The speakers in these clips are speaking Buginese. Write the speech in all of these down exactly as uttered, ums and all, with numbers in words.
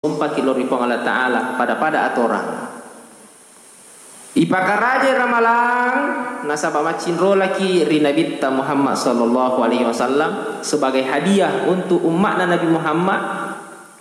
Sumpaki lao ri Puang Allah Ta'ala, pada-pada atorang. Ipakarajai ramalang, nasaba maccinrolaki ri Nabitta Muhammad sallallahu alaihi wasallam sebagai hadiah untuk umma'na Nabi Muhammad,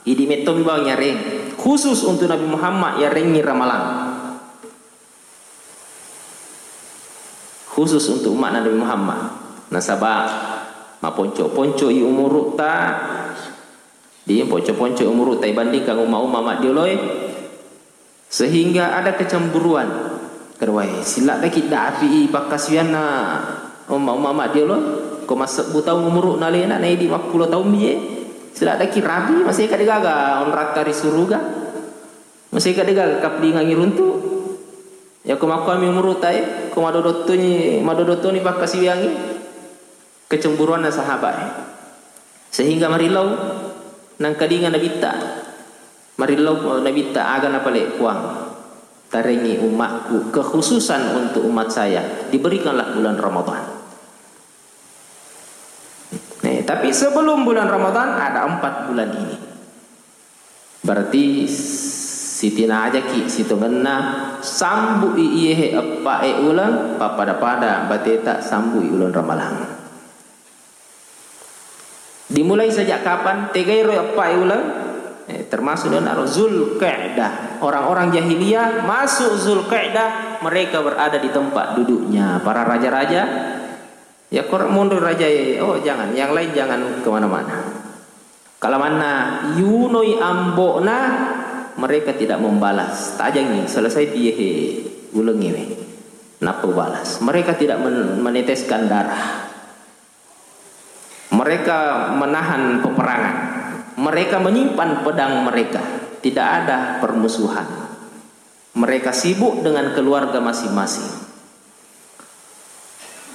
idi mettomi bawang yareng. Khusus untuk Nabi Muhammad yarengngi ramalang. Khusus untuk umma'na Nabi Muhammad. Nasaba maponco-ponco i umuru'ta, di ponco-ponco i umuru'ta ibandingkan umma-umma maddioloe, sehingga ada kecemburuan. Keruai, siladdaki dapi i pakkasiwianna umma-umma maddiolo, ko massebbu taung umuru'na alena, naidi mappulo taung bie, siladdaki rabi, maseka degaga onratta ri suruga. Maseka degaga kaplingangi runtu. Yako makkuami umuru'ta e, ko madodottoni, madodottoni pakkasiwiangngi, kecemburuanna sahabat e. Sehingga marillau nangkalinga Nabitta. Marillau Nabitta, aga napale Puang. Tarengi umatku, kekhususan untuk umat saya, diberikanlah bulan Ramadan. Nih, tapi sebelum bulan Ramadan ada empat bulan ini. Berarti sitinajaki sitongenna, sambu'i iyehe eppa'e uleng, pappada-pada bateta sambu'i uleng ramalang. Dimulai sejak kapan? Tegairo eppa'e uleng? Eh, termasuk dengan Zulqa'dah. Orang-orang jahiliyah masuk Zulqa'dah, mereka berada di tempat duduknya. Para raja-raja, ya, kor monro rajae, oh, jangan, yang lain jangan kemana-mana. Kalamanna yunoi ambo'na, mereka tidak membalas. Tajangi, selesai piyehe ulengngewe. Nappa balas. Mereka tidak men-, meneteskan darah. Mereka menahan peperangan. Mereka menyimpan pedang mereka. Tidak ada permusuhan. Mereka sibuk dengan keluarga masing-masing.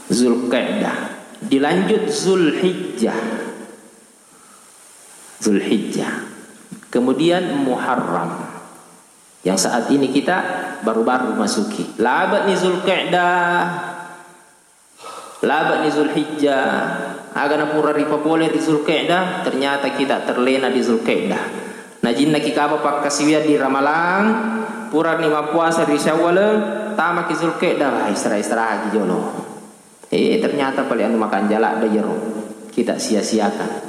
Zulqa'dah. Dilanjut Zulhijjah. Zulhijjah. Kemudian Muharram. Yang saat ini kita baru-baru masuki. Labe'ni Zulqa'dah. Labe'ni Zulhijjah, aga napura ripapole ri Zulqa'dah, ternyata kita terlena di Zulqa'dah. Najinnaki kaba pakkasiwiang di Ramalang, purani mappuasa ri Syawal, tamaki Zulqa'dah, wah, istirahat-istirahatki jolo. Eh, ternyata pale anu makanjala da jero. Kita sia-siakan.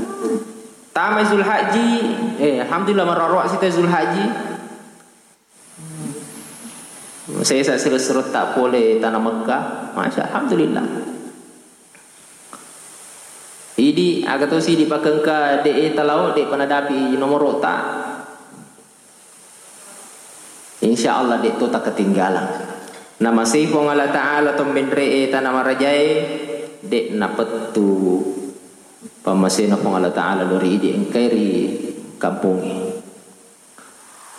Tamai Zulhajji, eh, alhamdulillah, maroroa sita Zulhajji. Sesa siro-sirotta pole tana Mekka, masya, alhamdulillah. Idi, aga tosi idi pakengka de e talao, de panadapi nomoro'ta. Insya Allah de to takketinggalang. Namasei Puang Allah Ta'ala to menre e tana marajae, de napettu pammasena Puang Allah Ta'ala lori idi engkai ri kampongnge.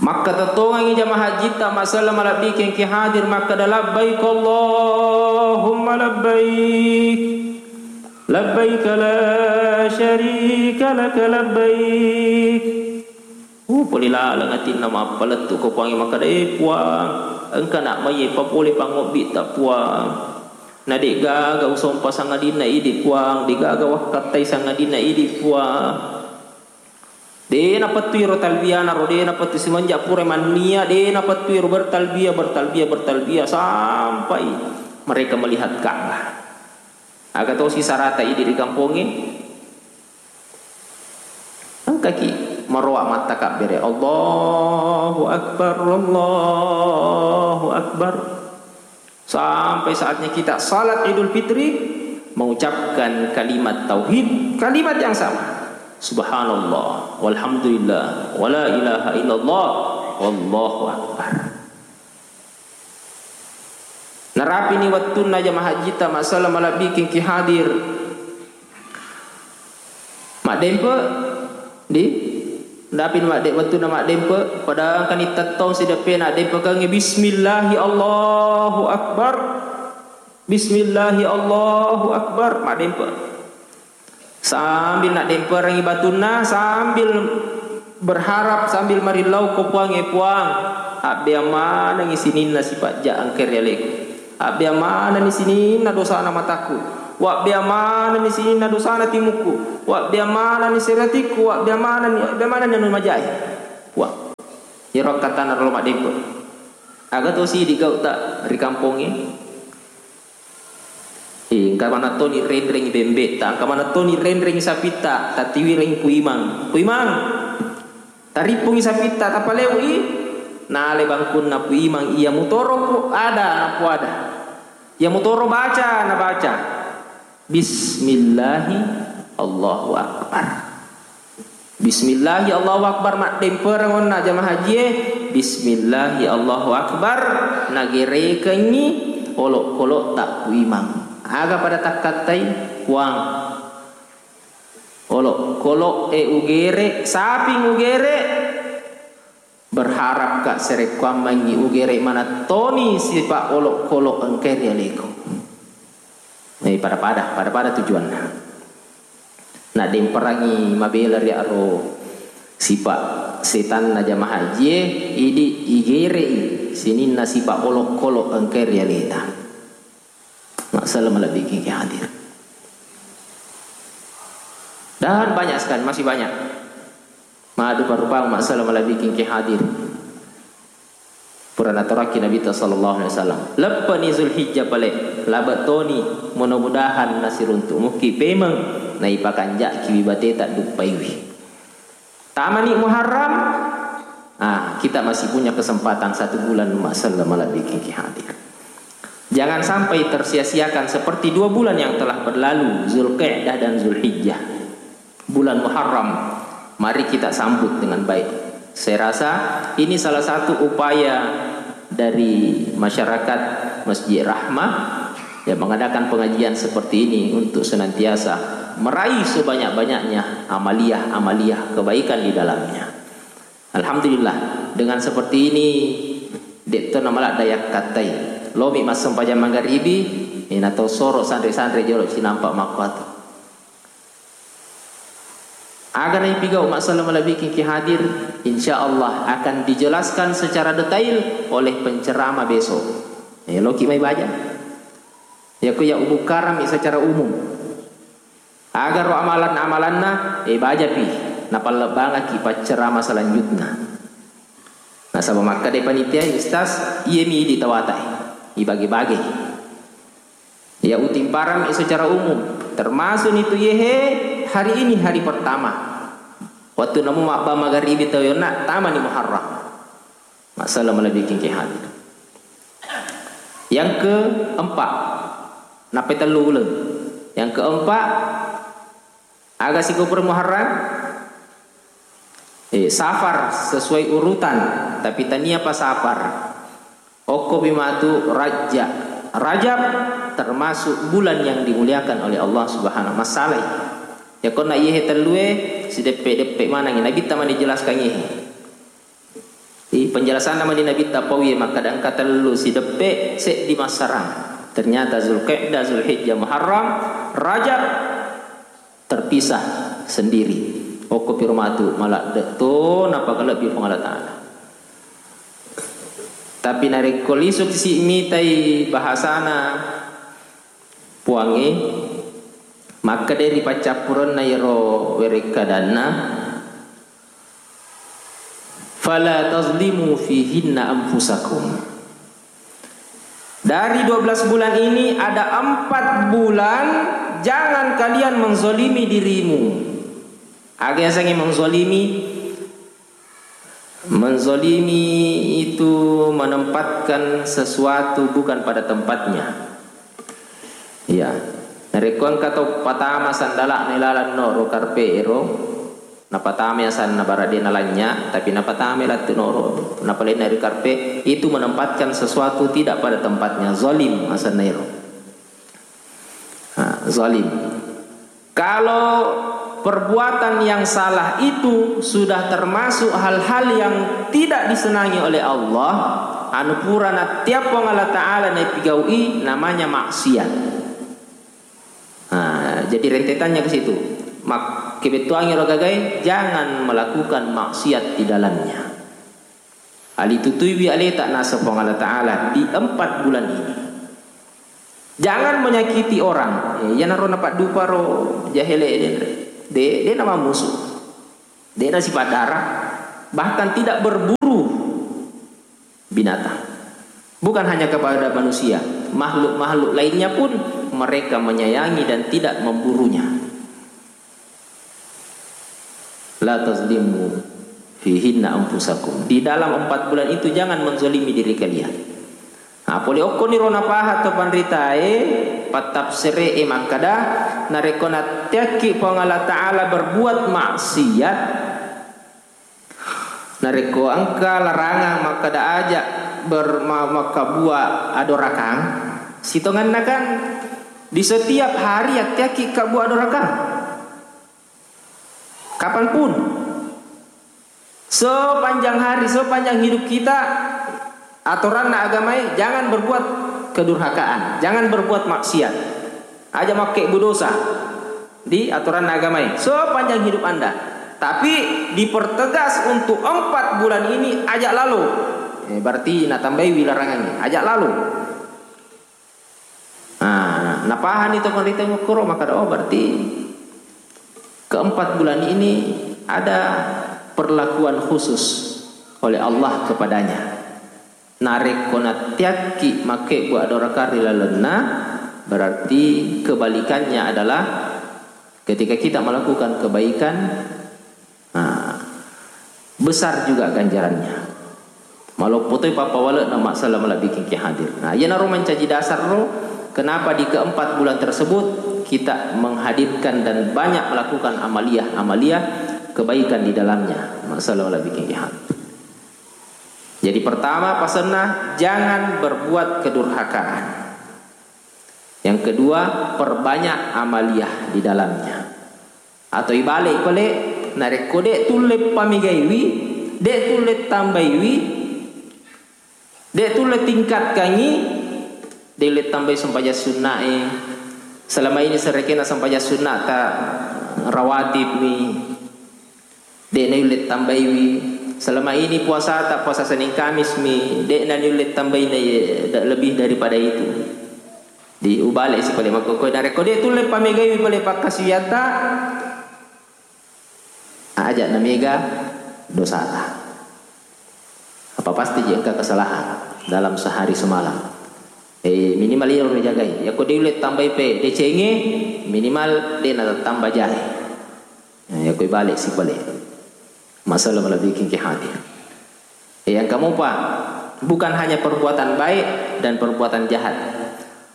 Makkatettongengngi jamaah hajjitta, massala malebbi kengki hadir, makkeda, "Labbaik Allahumma labbaik, labbaik la syarika laka labbaik." Uh, pole laleng atinna mappalettu ko Puangnge, makkeda, "Eh, Puang, engka nak maiye papole pangobbitta, Puang. Na de'gaga usompa sangadinna idi, Puang, de'gaga wakkattai sangadinna idi, Puang." De napettu iro talbiyana ro, de napettu, semenjak pura mannia, de napettu iro bertalbiyah, bertalbiyah, bertalbiyah sampai mereka melihat Ka'bah. Aga tosi sarata idi ri kampongnge? Engkaki maroa mattakabbere, Allahu Akbar, Allahu Akbar. Sampai saatnya kita salat Idul Fitri, mengucapkan kalimat tauhid, kalimat yang sama. Subhanallah, walhamdulillah, wala ilaha illallah, wallahu akbar. Narapini wettunna jamaah hajjitta, massala malebbi kengki hadir. Maddempe, di? Dapi madde-, wettunna maddempe, pada engkani tettong sideppe naddempekengngi, "Bismillahi Allahu Akbar. Bismillahi Allahu Akbar." Maddempe. Sambil naddemperengngi batunna, sambil berharap, sambil marillau ko Puangnge, "Puang, abbeang manengngi sininna sipajja engka ri aleku." Abbeang manenni sininna dosana mataku, wabbeang manenni sininna dosana timukku, wabbeang manenni seratikku, wabbeang manenni, wabbeang manenni anu majae. Puang, Iyaro akkattana ro maddempe. Aga to sidi gau'ta ri kampongnge? Eh, engka maneng toni renrengngi bembe'ta, engka maneng toni renrengngi sapitta, tatiwireng Pu Imang. Pu Imang, tarippungi sapitta, tapaleui. Nale bangkunna Pu Imang, iya mutoro ku ada, napuada. Iya mutoro baca, nabaca. Bismillahi Allahu Akbar. Bismillahi Allahu Akbar, maddempereng onna jamaah hajie. Bismillahi Allahu Akbar, nagerekengngi olokkolokta Pu Imang. Aga pada takkattai, Puang? Olokkolok e ugere, saping ugere. Berharap ka sarekkuammengngi ugere maneng toni sipa olokkolok engkae ri aleku. Eh, pada-pada, pada-pada tujuanna. Naddemperangngi mabela ri aro sipa setanna jamaah hajie, idi igerei sininna sipa olokkolok engkae ri aleta. Massala malebbiking ki hadir. Dan banyak sekali, masih banyak. Madu parupang massala malebbiking ki hadir. Pura natorakki Nabitta sallallahu alaihi wasallam. Leppeni Zulhijjah pale, labe toni, mudah-mudahan nasiruntuk muki pemeng, naipakanjaki wibateta duppaiwi. Tamani Muharram, ah, kita masih punya kesempatan satu bulan massala malebbiking ki hadir. Jangan sampai tersia-siakan seperti dua bulan yang telah berlalu, Zulqa'dah dan Zulhijjah. Bulan Muharram, mari kita sambut dengan baik. Saya rasa ini salah satu upaya dari masyarakat Masjid Rahmah yang mengadakan pengajian seperti ini untuk senantiasa meraih sebanyak-banyaknya amaliah-amaliah kebaikan di dalamnya. Alhamdulillah, dengan seperti ini, de' to namaladda yakkattai. Lomi massempajang magaribi, eh, natau soro sanre-sanre jolo cinampa makkuatu. Aga naipigau massala malebbiking ki hadir, insya Allah akan dijelaskan secara detail oleh penceramah besok. Eh, loki mai baja. Yako ya ubukkarami secara umum. Agaro amalan-amalanna, eh, bajapi, napallebbangaki paccerama selanjutna. Nasaba makkeda panitia, Ustaz, iyemi idi tawatae, ibage-bage. Ya utimparan secara umum, termasuk nitu yehe hari ini hari pertama. Waktu namu mabba magaribi tau yonna, tamani Muharram. Massala malebbiking ki hadir. Yang keempat, nappai tellu uleng. Yang keempat, aga sikopure Muharram? Eh, Safar sesuai urutan, tapi tania pa Safar. Okkopi matu Rajab. Rajab termasuk bulan yang dimuliakan oleh Allah Subhanahu wa Ta'ala. Ya konna yehe tellue sideppe-deppe manangi Nabitta mani jelaskan yehe. Di penjelasanna mani Nabitta pauye makkeda engka tellu sideppe seddi massarang. Ternyata Zulqa'dah, Zulhijjah, Muharram, Rajab terpisah sendiri. Okko piro matu maladde to napakalebbi Puang Allah Ta'ala. Tapi narekko lisu si mitai bahasana Puangnge, makkeda ri paccappurenna iyaro werekkadanna, "Fala tazlimu fihinna anfusakum." Dari dua belas bulan ini ada empat bulan jangan kalian menzolimi dirimu. Aga yasengnge menzolimi? Menzolimi itu menempatkan sesuatu bukan pada tempatnya. Iya. Narekko engka tau patama sandala'na ilalang noro karpe ero, napatama asanna bara de nalanya, tapi napatama lattu noro, napalenna ri karpe, itu menempatkan sesuatu tidak pada tempatnya, zalim asanna ero. Nah, zalim. Kalau perbuatan yang salah itu sudah termasuk hal-hal yang tidak disenangi oleh Allah, anu pura nattiappong Allah Ta'ala naipigaui, namanya maksiat. Nah, jadi rentetannya ke situ. Mak-, kebettuangi ro gagai, jangan melakukan maksiat di dalamnya. Alitutuiwi aleta naseng Puang Allah Ta'ala di empat bulan ini. Jangan menyakiti orang. Eh, iyanaro napadduparo jahele de, de, de namammusu. De nasipaddara. Bahkan tidak berburu. binatang. Bukan hanya kepada manusia, makhluk-makhluk lainnya pun mereka menyayangi dan tidak memburunya. La tazlimu fihinna anfusakum. Di dalam empat bulan itu jangan menzalimi diri kalian. Nah, pole okkoniro napaha to panritae, pattafsere e makkada, narekko natteakki Puang Allah Ta'ala berbuat maksiat, narekko engka larangang makkada aja ber-, ma-, makkabua adorakang, sitongenna kan di setiap hari atteakki kabua adorakang. Kapanpun. Sepanjang hari, sepanjang hidup kita, atoranna agamae, jangan berbuat kedurhakaan, jangan berbuat maksiat. Aja makkebbu dosa di atoranna agamae sepanjang hidup Anda. Tapi dipertegas untuk empat bulan ini, aja lalo. Eh, berarti natambaiwi larangangnge, aja lalo. Nah, napahani to panrita makkoro, makkada, "Oh, berarti keempat bulan ini ada perlakuan khusus oleh Allah kepadanya." Narekko natteakki makkebbu adorakang ri lalenna, berarti kebalikannya adalah ketika kita melakukan kebaikan, nah, besar juga ganjarannya. Maloppo toi pappawale'na massala malebbiking ki hadir. Nah, iyanaro mancaji dasar ro, kenapa di keempat bulan tersebut kita menghadirkan dan banyak melakukan amaliyah-amaliyah kebaikan di dalamnya. Massala malebbiking ki hadir. Jadi pertama pasenna, jangan berbuat kedurhakaan. Yang kedua, perbanyak amaliyah di dalamnya. Atau ibalik pale, narekko de' tulle pamegaiwi, de' tulle tambaiwi, de' tulle tingkatkangi, de' ulle tambai sempajang sunnae. Selama ini serekena sempajang sunnata rawatib mi. De' naulle tambaiwi. Selama ini puasata, puasa Senin Kamis mi, de' naulle tambai na-, lebih daripada itu. Di ubale si pale makkokkoe, narekko de' tulle pamegaiwi pale pakkasiwiatta, aja namega dosata. Apa pasti je engka kesalahan dalam sehari semalam. Eh, minimal iyaro rijagai. Yakko de' ulle tambai pe decengnge, minimal de' natattamba jae. Nah, yakko ibale si pale. Masalah malebbiking ki hadir. Eh, yang keempat, bukan hanya perbuatan baik dan perbuatan jahat.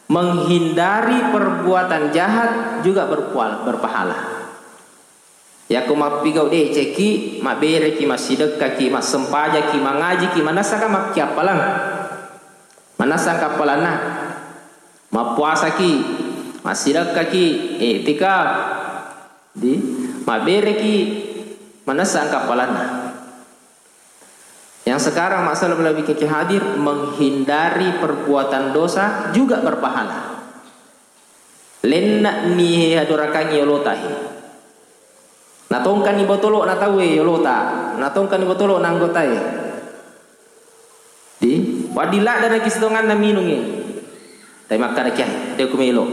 Menghindari perbuatan jahat juga berpual-, berpahala. Yakko mappigau deceki, mabbereki, massidekkaki, massempajaki, mangajiki, manessaka makkiappalang. Manessa kappalanna. Mappuasaki, massidekkaki, iktikaf. Di, mabbereki, manessa kappalanna. Yang sekarang masalah lebih hadir, menghindari perbuatan dosa juga berpahala. Lenna'ni adorakangngi yolota he. Natongkanni botolo na tauwe yolota, natongkanni botolo na anggotae. Di, waddi laddanaki sitonganna minungnge. Tapi makkada kiai, de' ku melo.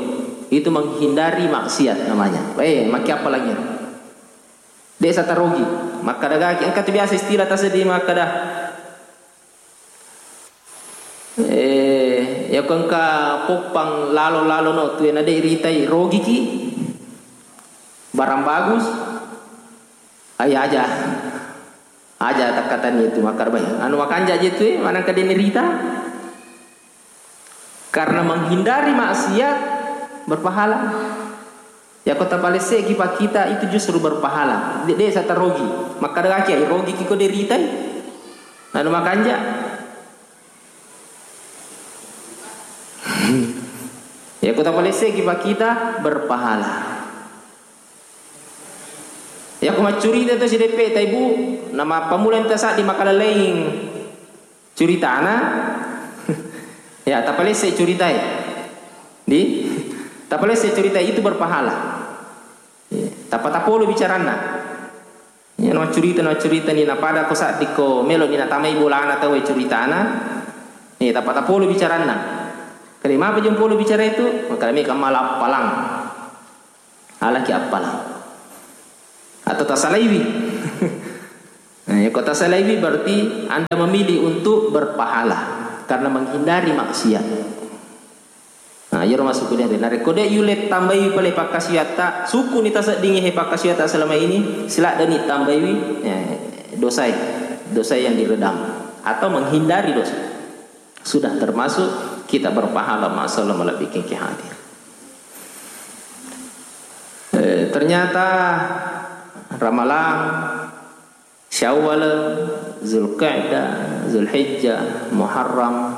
Itu menghindari maksiat namanya. Eh, makkiappalangngi. De' satarogi. Makkada gaki, engka tu biasa istilah taseddi makkada. Eh, yakko engka poppang lalo-lalono tuwe na de' ritai, rogiki. Barang bagus. Ai aja. Aja takkatanni itu makkada bai. Anu makanja je tuwe, manengka de' ni rita. Karena menghindari maksiat berpahala. Yakko tapalesse'ki pakkita itu justru berpahala. De', de' satarogi. Makkada gaki, ai rogiki ko de' ritai. Anu makanja. Yakko tapalesse'ki pakkita berpahala. Yakko maccurita tu sideppe taibu, nama pammula enta saddi makalaleing curitana, ya, tapalesse curitae. Di? Tapalesse curitae, itu berpahala. Ya, tappa tapolo bicaranna. Ya, naccurita, naccurita ni, napada ko saddi ko melo ni natamai bolana tau curitana. Ya, tappa tapolo bicaranna. Kali mapa jempolo bicara itu? Maka mi kamala appalang. Alaki appalang. Atau tasalaiwi. Nah, ko tasalaiwi berarti Anda memilih untuk berpahala karena menghindari maksiat. Nah, iyaro masukku dere. Narekko de' yulle tambaiwi pale pakkasiwiatta, sukuni taseddingi he pakkasiwiatta selama ini, siladdeni tambaiwi, eh, dosae, dosa yang diredam atau menghindari dosa. Sudah termasuk kita berpahala masalah malebbiking ki hadir. Eh, ternyata Ramalang, Syawal, Zulqa'dah, Zulhijjah, Muharram,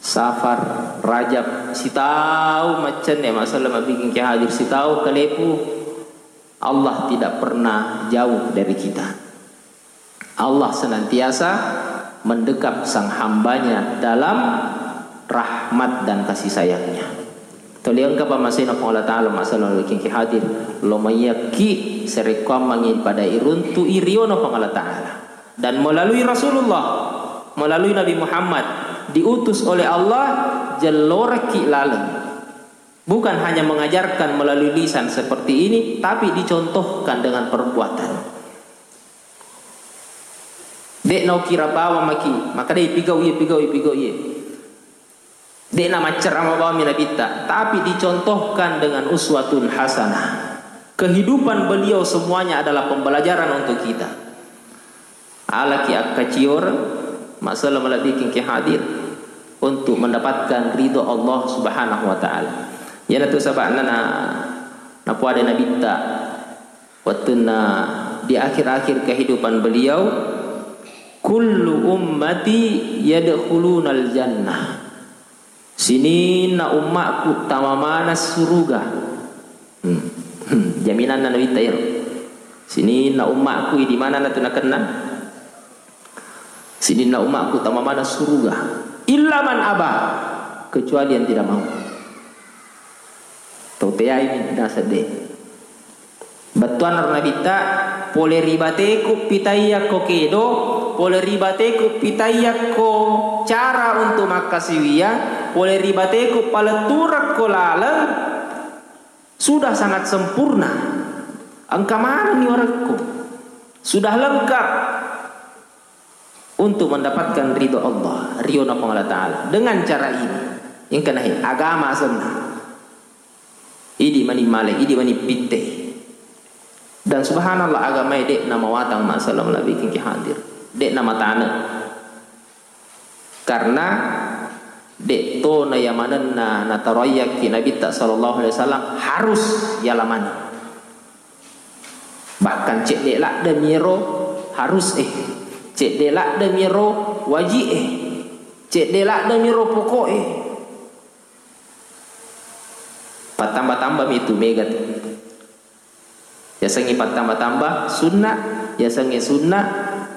Safar, Rajab, sitaung maccenne masalah mabbiking ki hadir, sitaung kalepu, Allah tidak pernah jauh dari kita. Allah senantiasa mendekap sang hambanya dalam rahmat dan kasih sayangnya. Toli engka pammasena Puang Allah Ta'ala masalah mabbiking ki hadir, lo mayyakki sarekkuammengngi pada iruntu'i riono Puang Allah Ta'ala. Dan melalui Rasulullah, melalui Nabi Muhammad, diutus oleh Allah, jellorekki laleng. Bukan hanya mengajarkan melalui lisan seperti ini, tapi dicontohkan dengan perbuatan. De' naukira bawang maki, maka de' pigau iye, pigau iye, pigau iye. De' namaccerama bawammi Nabitta, tapi dicontohkan dengan uswatun hasanah. Kehidupan beliau semuanya adalah pembelajaran untuk kita. Alaki akkacior, masalah malebbiking ki hadir untuk mendapatkan ridho Allah Subhanahu wa Ta'ala. Iyanatu saba'na na, napuada Nabitta wettunna di akhir-akhir kehidupan beliau, "Kullu ummati yadkhulunal jannah." Sininna ummakku tamamana suruga. Hmm. Hmm. Jaminanna Nabitta iyaro. Sininna ummakku, idi manenna tu nakenna? Sininna ummakku tamamana suruga. Illa man aba, kecuali yang tidak mau. Tau teai naseng de'. Bettuanna ro Nabitta, pole ri bateku pitayakko kedo, pole ri bateku pitayakko cara untuk makkasiwiyang, pole ri bateku paletturekko laleng, sudah sangat sempurna. Engka manenni warekku. Sudah lengkap untuk mendapatkan ridho Allah, riona Puang Allah Ta'ala. Dengan cara ini, engka nahe agama asenna. Idi mani male, idi mani pitte. Dan subhanallah, agamae de' namawatang masalah malebbiking ki hadir. De' namatane. Karena de' to na yamanenna nataroyakki Nabitta sallallahu alaihi wasallam harus yalamani. Bahkan cedde' ladde' miro harus e, cedde' ladde' miro waji' e, cedde' ladde' miro poko' e. Pattamba-tamba mi tu mega tu. Yasengnge pattamba-tamba sunna, yasengnge sunna,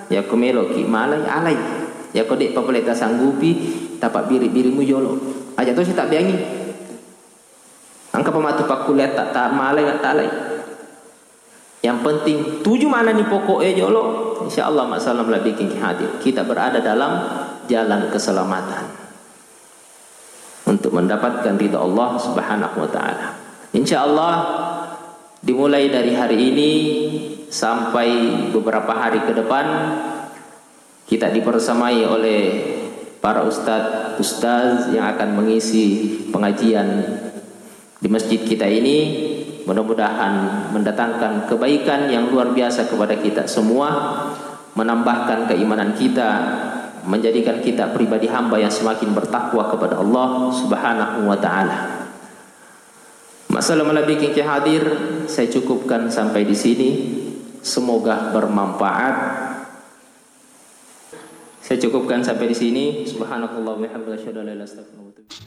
yakko meloki malai, alai. Yakko de'pa pole tasanggupi, tapabbiri-birimu jolo. Aja tosi tabbeangi. Engkapa matu pakkuliatta, ta malai, ta alai. Yang penting tuju manenni pokok e jolo, insya Allah masalah malebbiking ki hadir. Kita berada dalam jalan keselamatan untuk mendapatkan ridha Allah Subhanahu wa Ta'ala. Insya Allah, dimulai dari hari ini sampai beberapa hari ke depan, kita dipersamai oleh para ustadz, ustaz yang akan mengisi pengajian di masjid kita ini. Mudah-mudahan mendatangkan kebaikan yang luar biasa kepada kita semua, menambahkan keimanan kita, menjadikan kita pribadi hamba yang semakin bertakwa kepada Allah Subhanahu wa Ta'ala. Masalah malebbiking ki hadir, saya cukupkan sampai di sini. Semoga bermanfaat. Saya cukupkan sampai di sini. Subhanakallahumma wa bihamdika, asyhadu an la ilaha illa anta, astaghfiruka wa atubu ilaik.